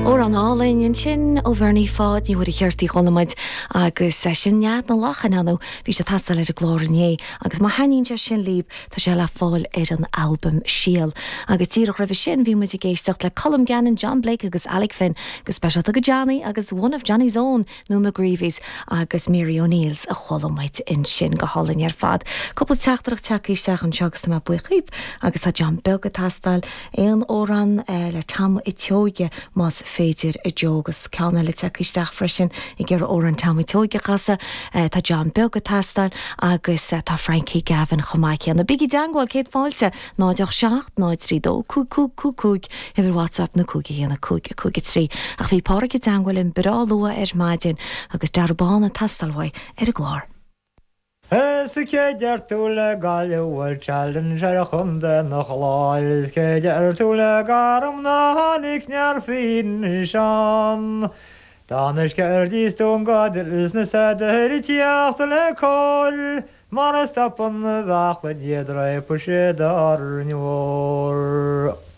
Amhrán álainn ansin ó Bhernie Pháid Ní Mhuircheartaigh a chuala muid agus sin Nead na Lachan ann. Bhí sé ag teastáil ar an gclár inné agus má thaitníonn sé sin libh tá sé le fáil ar an albam Síol. Agus díreach roimhe sin bhí muid ag éisteacht le Colm Gannon, John Blake agus Alec Finn go speisialta go Johnny agus One of Johnny's Own nó McGreevy's agus Mary O'Neill's a chuala muid ansin go hálainn ar fad. Cúpla teachtaireacht tagtha isteach anseo agus tá mé buíoch dhíbh agus tá John Beag ag teastáil, aon amhrán le Tom a' tSeoighe más féidir a Joe agus ceann eile tagtha isteach freisin ag iarraidh amhrán Tom a' tSeoighe a chasadh. Tá John Beag ag teastáil agus tá Frankie Gavin chomh maith céanna. Bígí i dteangmháil, céad fáilte! 0 8 7 0 3 2 5 5 5 5, uimhir WhatsApp nó 5 1 5 5 3. Ach bhí Páraic i dteangmháil linn breá luath ar maidin agus Darragh Bán ag teastáil uaidh ar an gclár. Is cé deir tú le Gaillimh Bhfuil challenge ar chontae na Chláir Is cé deir tú le Garm ná tháinig near Seán Tá na sceird is dún gadail is na sadair ag tíocht le cóir Mara stopann na bheachla iad réabfaidh siad Árainn Mhór.